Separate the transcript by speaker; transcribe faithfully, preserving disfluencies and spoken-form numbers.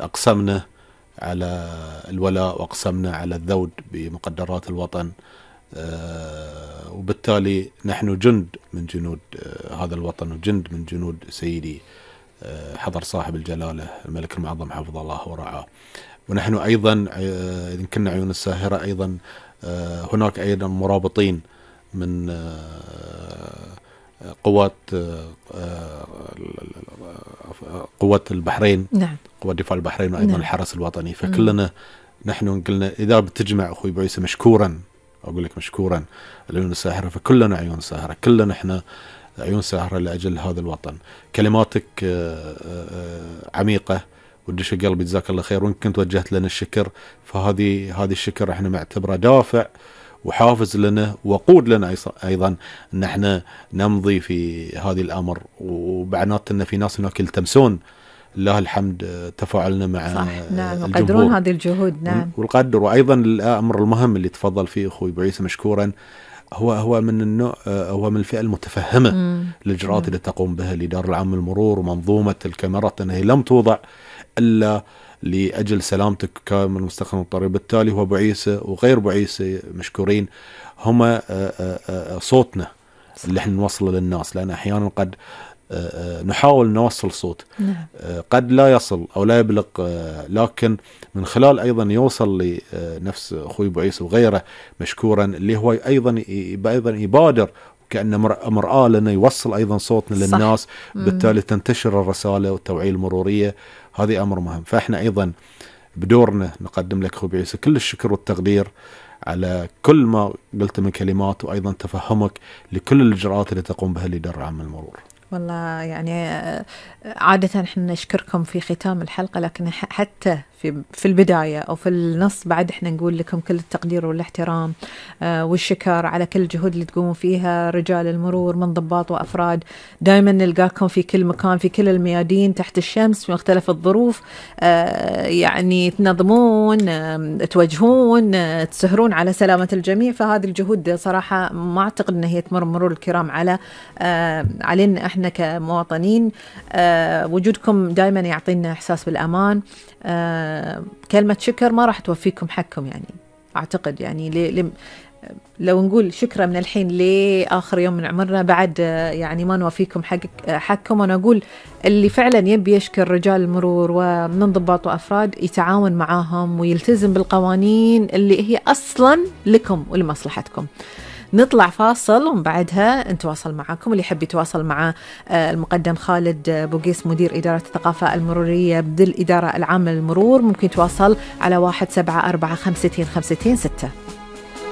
Speaker 1: أقسمنا على الولاء وأقسمنا على الذود بمقدرات الوطن، وبالتالي نحن جند من جنود هذا الوطن وجند من جنود سيدي حضر صاحب الجلالة الملك المعظم حفظه الله ورعاه. ونحن أيضا إذا كنا عيون الساهرة أيضا هناك أيضا مرابطين من قوات قوات البحرين،
Speaker 2: نعم.
Speaker 1: قوات دفاع البحرين وأيضا
Speaker 2: نعم.
Speaker 1: الحرس الوطني. فكلنا نحن قلنا إذا بتجمع أخوي بعيسى مشكورا، أقول لك مشكورا العيون الساهرة، فكلنا عيون ساهرة، كلنا إحنا عيون ساهرة لأجل هذا الوطن. كلماتك عميقة ودش قلبي، جزاك الله خير، وإن كنت وجهت لنا الشكر فهذه هذه الشكر احنا معتبره دافع وحافز لنا وقود لنا أيضا أن احنا نمضي في هذه الأمر. وبعنات أن في ناس هناك يلتمسون لله الحمد تفاعلنا مع
Speaker 2: صح. نعم. وقدرون هذه الجهود. نعم.
Speaker 1: والقدر. وأيضا الأمر المهم اللي تفضل فيه أخوي بعيسى مشكورا هو هو من النوع هو من الفئة المتفهمة الإجراءات اللي تقوم بها الإدارة العامة للمرور ومنظومة الكاميرات، أنها لم توضع إلا لأجل سلامتك كامل مستخدم الطريق. بالتالي هو بعيسى وغير بعيسى مشكورين، هم صوتنا اللي احنا نوصله للناس، لأن أحيانا قد نحاول نوصل صوت قد لا يصل أو لا يبلغ، لكن من خلال أيضا يوصل لنفس أخوي بعيسى وغيره مشكورا اللي هو أيضا أيضا يبادر كأنه مرآة لنا يوصل أيضا صوتنا للناس. بالتالي تنتشر الرسالة والتوعية المرورية، هذه أمر مهم. فإحنا أيضا بدورنا نقدم لك أخوي بعيسى كل الشكر والتقدير على كل ما قلت من كلمات، وأيضا تفهمك لكل الإجراءات اللي تقوم بها الإدارة العامة للمرور.
Speaker 2: والله يعني عادة احنا نشكركم في ختام الحلقة، لكن حتى في في البداية أو في النص بعد احنا نقول لكم كل التقدير والاحترام والشكر على كل الجهود اللي تقوموا فيها رجال المرور من ضباط وأفراد. دائما نلقاكم في كل مكان في كل الميادين تحت الشمس في مختلف الظروف، يعني تنظمون توجهون تسهرون على سلامة الجميع. فهذه الجهود صراحة ما أعتقد أن هي تمر مرور الكرام على علينا احنا كمواطنين. وجودكم دائما يعطينا إحساس بالأمان. آه كلمة شكر ما راح توفيكم حقكم، يعني أعتقد يعني لي لي لو نقول شكرا من الحين لآخر يوم من عمرنا بعد يعني ما نوفيكم حق حقكم. وأنا أقول اللي فعلا يبي يشكر رجال المرور ومن ضباط وأفراد يتعاون معاهم ويلتزم بالقوانين اللي هي أصلا لكم ولمصلحتكم. نطلع فاصل ومن بعدها نتواصل معكم. اللي يحب يتواصل مع المقدم خالد بوقيس مدير إدارة الثقافة المرورية بالإدارة العامة للمرور ممكن يتواصل على واحد سبعة أربعة خمسة خمسة ستة.